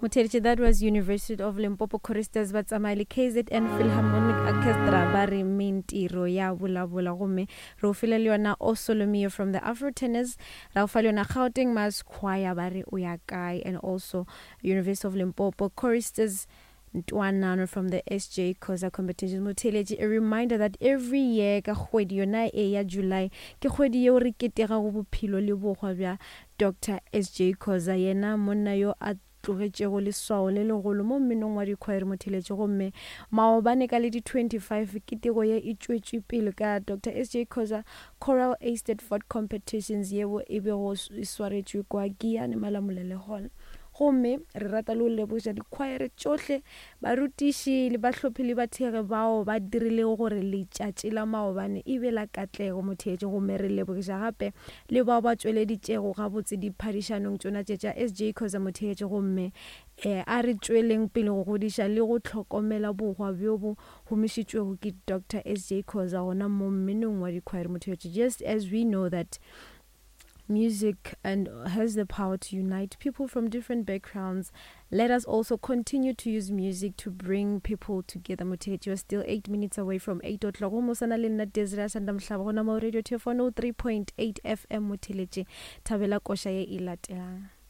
Motheeletši, that was University of Limpopo Choristers ba tsamaya le KZN Philharmonic Orchestra ba re mentiro ya bolabola gomme re o file le yona O Solomio from the Afro Tenors ra o fa le yona Gauteng Mass Choir ba re o ya kae and also University of Limpopo Choristers Ntwanano from the SJ Khoza Competitions. Motheeletši, a reminder that every year ka kgwedi yona e ya July ke kgwedi yeo re ketegago bophelo le bohwa bja Doctor SJ Khoza, yena monna yo a tlogetšego leswao le legolo mo mminong wa dikhwaere motheletše gomme maobane ka le di 25 keteko ye e tšwetšwe pele ka Doctor SJ Khoza Choral Eisteddfod Competitions yeo e bego e swaretšwe kwa Giyani Malamulele Hall. Gomme re rata le go lebogiša dikhwaere tšohle, barutiši le bahlophi le bathekgi bao ba dirilego gore letšatši la maobane e be la katlego motheetši. Gomme re lebogiša gape le bao ba tšweleditšego gabotse diphadišanong tšona tše tša SJ Khoza motheetši. Gomme a re tšweleng pele go godiša le go hlokomela bohwa bjo bo humišitšwego ke Doctor SJ Khoza gona mo mminong wa dikhwaere motheetši. Just as we know that music and has the power to unite people from different backgrounds. Let us also continue to use music to bring people together. Motheetši, you are still 8 minutes away from 8 o'clock. Gomme o sa na le nna Desiree Asanda Mohlaba gona mo Radio Tefo 103.8 FM motheletše. Thabela koša ye e latelang.